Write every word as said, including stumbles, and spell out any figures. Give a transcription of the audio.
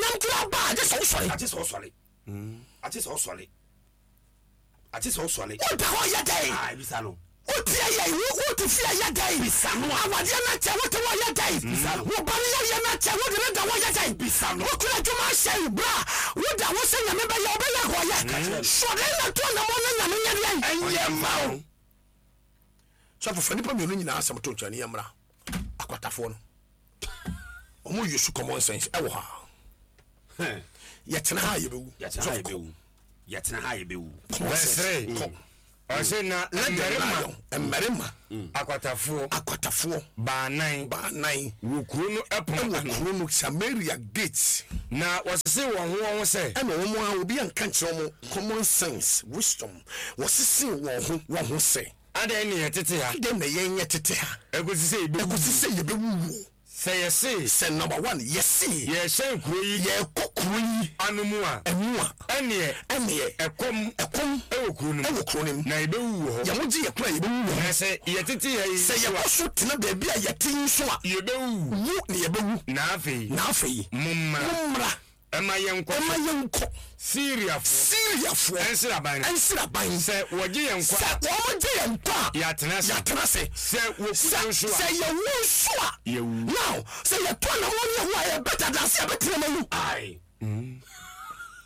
Animonyam kura ba a, gye sɛ wosɔre. Agye sɛ ɔsɔre, agye sɛ ɔsɔre, agye sɛ ɔsɔre. Woda hɔ yɛ dɛn? Ah, ebisa no. Wotie yɛ, wote fie yɛ dɛn? Bisa no a. Awadeɛ no akyɛ, wote hɔ yɛ dɛn? Bisa no. Wo ba no yɛyɛ no akyɛ, wode ne da hɔ yɛ dɛn? Bisa no. Wokura adwuma ahyɛ bra, woda hɔ sɛ Nyame bɛyɛ, wobɛyɛ hɔyɛ. Sɔre na to anamɔ na Nyame nyɛ deɛn? Ɛnyɛ ma wo. Sɔfo, fa nnipa mmienu nyinaa asɛm to nkyɛn ne yɛmmra. Akwatafoɔ no, ɔmo use common sense ɛwɔ ha. Yɛtena ha a, yɛbɛwu. Yɛtena ha, yɛbɛwu. Yɛtena ha, yɛbɛwu. Common Verse sense. three. Kɔ. Ɔse na Let them mmarima lie. Mmarima akwatafoɔ akwatafoɔ baanan baanan wɔ kuro no ɛpono ɛwɔ ano. Kuro no Samaria gate. Na wɔsese wɔn ho wɔn ho sɛ, ɛna wɔn a obi anka nkyerɛ wɔn, common sense, wisdom, wɔsese wɔn ho wɔn ho sɛ, adɛn ne yɛtete ha adɛn na yɛn yɛ tete ha ɛkɔsi sɛ yɛbɛwu? Ɛkɔsi sɛ yɛbɛwuwuo. Sɛ yɛse sɛ number one, yɛse yɛhyɛn kuro yi yɛkɔ kuro yi ano mu a, ɛmu a, ɛneɛ ɛneɛ ɛkɔm ɛkɔm ɛwɔ kuro no mu ɛwɔ kuro no mu na yɛbɛwu wɔ hɔ. Yɛn ho gye yɛ koro a, yɛbɛwu wɔ na hɔ. Sɛ yɛtete ha yi sɛ so a, yɛkɔ so tena baabi a yɛte yi nso a, yɛbɛwu. Wu na yɛbɛwu. Na afei na afei mommra mommra ɛma yɛnkɔ ɛma yɛnkɔ Syriafoɔ Syriafoɔ ɛnsraban no. Ɛnsraban. Sɛ wɔgye yɛn nkwa sɛ a, wɔn gye yɛn nkwa a, yɛatena ase. Yɛatena ase. Sɛ wɔku sɛ yɛn nso a, sɛ yɛwu nso a, yɛwu. Now sɛ yɛtɔ anamɔ ne yɛwu a, yɛ better than sɛ yɛbɛtena ma wu. Aye.